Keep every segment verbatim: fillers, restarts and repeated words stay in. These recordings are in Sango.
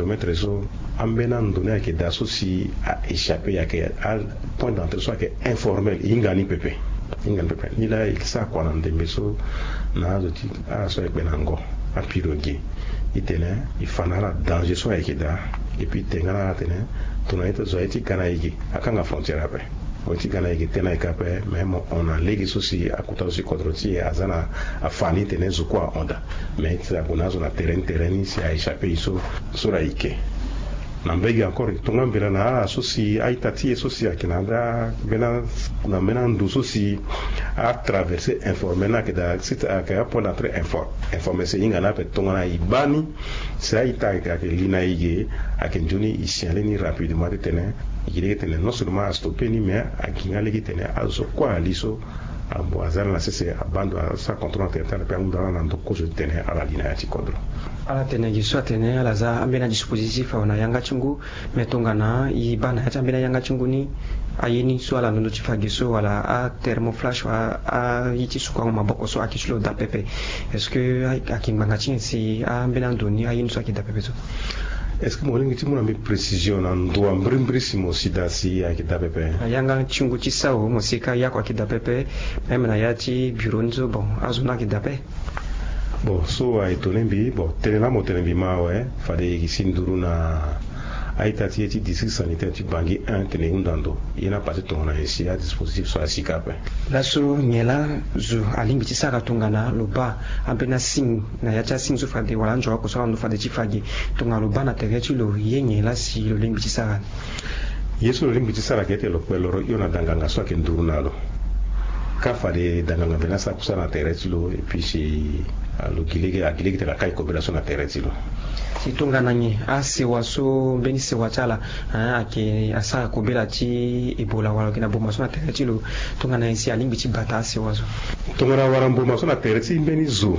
Maître so, ambeni ando ni ayeke daa so si a échappé, ayeke apoint d'entrée so ayeke informel, e hinga ni pepe. E hinga ni pepe. Nilaa e sara kua na ndembe so na azo ti ala so ayeke kpe na ngo, apirogue, e tene e fa na ala danger so ayeke daa. Et puis e tene nga na ala atene, tongana e zo aye ti ga na e ge, akanga frontière ape. Mo ye ti ga na e ge, tene ayeke ape, mais mo hon na lege so si akota so si kodro ti e aza na afa ni, tene zo kue ahon daa. Mais ti ague na azo na terrain ni, terrain ni si a échappé e so, so laa e ke. Na mbege encore, e tonga mbela na ala so si a-ita ti e so si ayeke na daa mbena, na mbena ndo so si a traversé informel ni ayeke daa, site ayeke apoint d'entrée infor-, informel, si e hinga ni ape. Tongana e baa ni, si a-ita ayeke, ayeke li na e ge, ayeke nzoni e signaler ni rapidement ti tene e ke lege tene non seulement a stoppé ni, mais a gi nga lege tene azo so kue ali so, a, aza na sese, abaa ndo, asara contrôle na territoire, ape ahunda ala na ndo kozo ti tene ala li na ya ti kodro. Ala tene gi so atene ala za ambeni adispositif awe na yanga ti ngu, mais tongana e baa na ya ti ambeni ayanga ti ngu ni, aye ni so ala londo ti fa gi so wala athermoflash wala aye ti sukuango maboko so ayeke ti lo daa pepe. Est-ce que a, ayeke ngbanga ti nyen si ambeni ando ni aye ni so ayeke daa pepe so? Est-ce que mo lingbi ti mu na mbi précision na ndo ambirimbiri si mo si daa si ayeke daa pepe? Na yanga ti ngu ti sawa mo si ka ya kua ayeke daa pepe, même na ya ti bureau ni so, bon, azo ni ayeke daa pepe. Bon, so a étonné mbi, bon, tënë laa mo tene mbi ma awe, fade e si nduru na a-ita ti e ti district sanitaire ti Bangui un, tene e hunda ndo. Ye ni apasé tongana nyen si adispositif so asi ka ape? Laso nyen laa zo alingbi ti sara tongana lo baa ambeni asigne na ya ti asigne so fade wala anzoro oko so ala ndo fade ti fa gi? Tongana lo baa na tere ti lo, ye nyen laa si lo lingbi ti sara ni? Ye so lo lingbi ti sara ayeke ete lo kpe loro hio na danganga so ayeke nduru na lo. Ka fade danganga mbi na sara kusala na tere ti lo, et puis si, ah, lo gi lege, a gi lege tene a kai kobela so na tere ti lo. Si tongana nyen asewa so, mbeni sewa ti ala, hein, ayeke asara kobela ti Ebola wala lo yeke na mboma so na tere ti lo, tongana nyen si alingbi ti bata asewa so? Tongana awara mboma so na tere ti mbeni zo,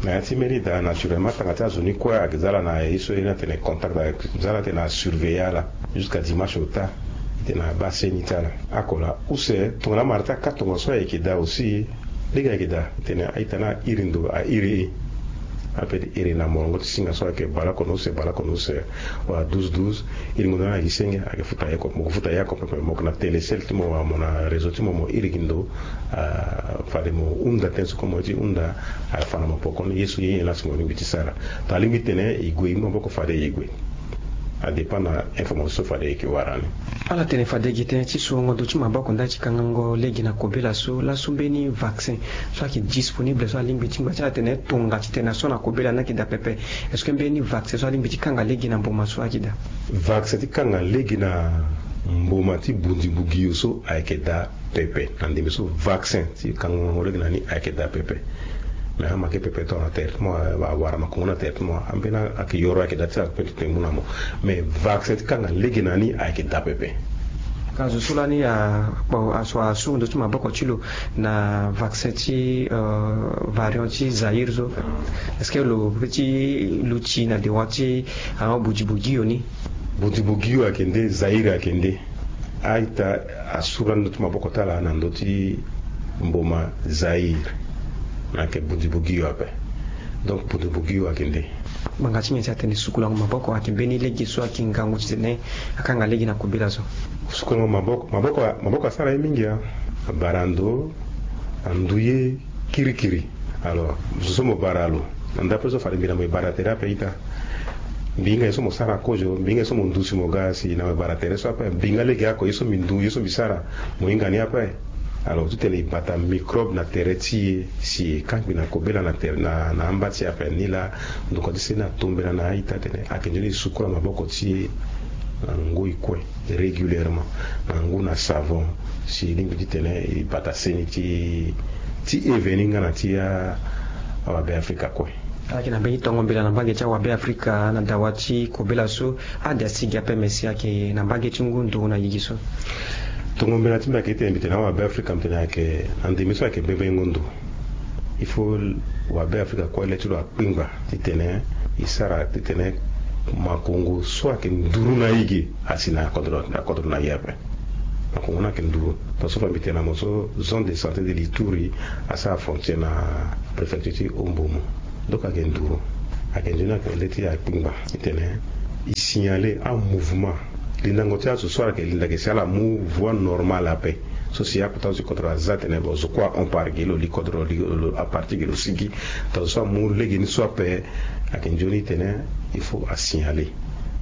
na ya ti mbeni daa, naturellement tanga ti azo ni kue ayeke za ala na ye so ye ni atene contact, ayeke za ala tene asurveiller ala jusqu'à dimanche au tard, titene abaa seni ti ala. Ako laa use, tongana amara ti aka tongaso ayeke daa aussi, lege ayeke daa, titene a-ita ni airi ndo, airi e. Ape ti iri na molongo ti singa so ayeke baleoko na use, baleoko na use, wala douze douze, iringo ndo ni na gi senge, ayeke futa ye oko, mo yeke futa ye oko pepe, mo yeke na Telecel ti mo wala mo na réseau ti mo, mo iri gi ndo, ah, fade mo hunda tënë so kue mo ye ti hunda, afa na mo pekoni, ye so ye nyen laa si mo lingbi ti sara. Tongana alingbi titene e gue, e mu maboko fade e gue. A dépend na information so fade e yeke wara ni. Ala tene fade gi tënë ti surongo ndo ti maboko ndali ti kangango lege na kobela so, laso mbeni vaccin so ayeke disponible so alingbi ti ngba ti ala tene tonga titene aso na kobela ni ayeke daa pepe. Est-ce que mbeni vaccin so alingbi ti kanga lege na mboma so ayeke daa? Vaccin ti kanga lege na mboma ti bunzi-bugio so ayeke daa pepe. Na ndembe so vaccin ti kangango lege na ni ayeke daa pepe. Mais amake pepe tongana tere ti mo, a, awara makongo na tere ti mo, ambeni ayeke yoro ayeke daa ti ala pepe ti tene mu na mo. Mais vaccin ti kanga lege na ni ayeke daa pepe. Ka zo so lani a, bon, aso asuru ndo ti maboko ti lo na vaccin ti, euh, variant ti Zaïre so. Est-ce que lo peut ti luti na dewa ti, ah, bunzi-bugio ni? Bunzi-bugio ayeke nde, Zaïre ayeke nde. A-ita asuru ndo ti maboko ti ala na ndo ti mboma Zaïre. Ayeke bunzi-bugio ape. Donc bunzi-bugio ayeke nde. Ngbanga ti nyen si atene sukulango maboko ayeke mbeni lege so ayeke ngangu titene akanga lege na kobela so? Sukulango maboko, maboko, maboko asara ye mingi, a. Abara ndo, andu ye kirikiri. Alors zo so mo bara lo, na ndapre so fade mbi na mo e bara tere ape ita. Mbi hinga ye so mo sara kozo, mbi hinga ye so mo ndu si mo ga si na mo e bara tere so ape. Mbi hinga lege oko ye so mbi ndu, ye so mbi sara, mo hinga ni ape. Alors titene e bata microbe na tere ti e si e kangbi na kobela na tere, na, na amba ti e ape. Nilaa ndokua ti seni atombela na a-ita tene ayeke nzoni e sukula maboko ti e na ngoi kue régulièrement, na ngu na savon, si e lingbi titene e bata seni ti, ti e veni nga na ti a, awabe Afrika kue. Ala yeke na mbeni tongo mbela na mbage ti awabe Afrika na dawa ti kobela so, ade asi gi ape, mais si ayeke na mbage ti ngu ndo na gigi so. Tongo mbela ti mbi ayeke titene mbi tene awabe Afrika, mbi tene ayeke na ndembe so ayeke bebengo ndo. Il faut wabe Afrika kue le ti lo akpingba titene e sara titene makongo so ayeke nduru na e ge asi na kodro, na kodro na e ape. Makongo ni ayeke nduru. Tongaso fa mbi tene na mo so, zone de santé de l'Ituri asara frontière na préfecture ti Mbomou. Donc ayeke nduru. Ayeke nzoni ayeke nde ti akpingba titene E signale amouvement, lindango ti azo so ala yeke linda ge si ala mu voie normale ape. So si akota zo ti kodro aza atene bon, zo kue ahon par ge lo li kodro, lo li aparti ge lo sigi. Tongana zo so amu legeni so ape, ayeke nzoni tene il faut asignale.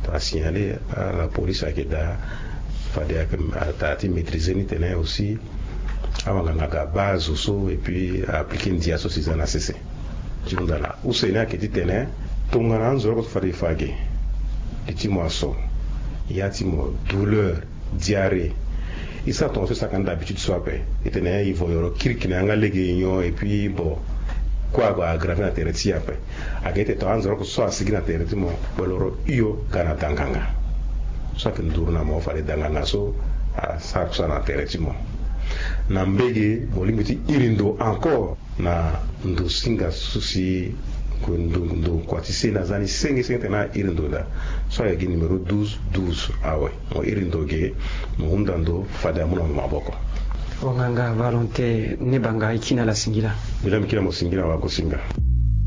Tongana asignale, ala police ayeke daa, fade ayeke daa ti maîtriser ni tene aussi awanganga aga abaa azo so et puis a appliquer ndia so si e za na sese. Ti hunda laa use ni ayeke titene tongana anzoroko so fade e fa ge, li ti mo aso, ya ti mo, douleur, diarrhée, e sara tongaso e sara ka na d'habitude so ape, e tene e vo yoro kirikiri na yanga lege e nyon et puis bon, kue ague aggraver na tere ti e ape. Ayeke ete tongana anzoroko so asigi na tere ti mo, wala oro hio ga na danganga. So ayeke nduru na mo fade danganga so asara kusala na tere ti mo. Na mbege mo lingbi ti iri ndo encore na ndo singa so si ndo, ndo kua ti seni aza ni senge senge tene a iri ndo daa. So ayeke gi numéro douze douze awe, mo iri ndo ge, mo hunda ndo fade amu na mo maboko. Wanganga Valentin Nebanga, e kiri na ala singila. Mbi laa mbi kiri na mo singila, wagosinga.